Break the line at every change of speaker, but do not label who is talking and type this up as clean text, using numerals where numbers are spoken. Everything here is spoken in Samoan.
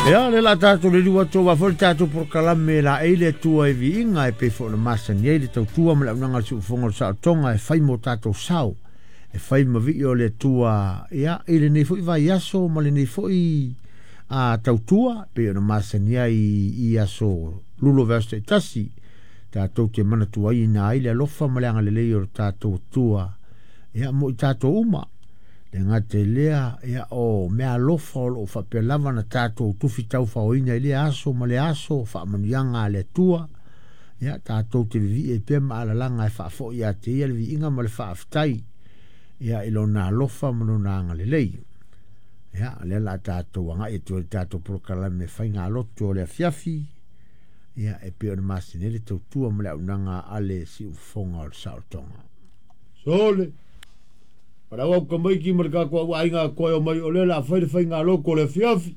Ia, le la tatou le liu atu aua foi le tatou polokalame e laei le Atua i viiga e pei foi ona masani ai le tautua ma le auaunaga a le Siufofoga o le Saotoga e fai mo tatou sao, e fai ma vii o le Atua ia, i lenei foi vaiaso ma lenei foi a tautua e pei ona masani ai i aso lulo vaiaso taitasi tatou te manatuaina ai le alofa ma le agalelei o le tatou Atua ia, mo i tatou uma. Le gata i lea, ia, o meaalofa o loo faapea lava na tatou tufi taufaoina i lea aso ma lea aso, faamanuiaga a le Atua, ia, tatou te vivii ai pea ma alalaga e faafoi ia te ia le viiga ma le faafetai, ia, i lona alofa ma lona agalelei. Ia, o lea la tatou agai atu ai i le tatou polokalame faigalotu o le afiafi, ia, e pei ona masani ai le tautua ma le auaunaga a le Siufofoga o le Saolotoga.
Sole, palau au tamaiti ma le tatou au aiga toe o mai o lea o le a fai le faigalotu o le afiafi.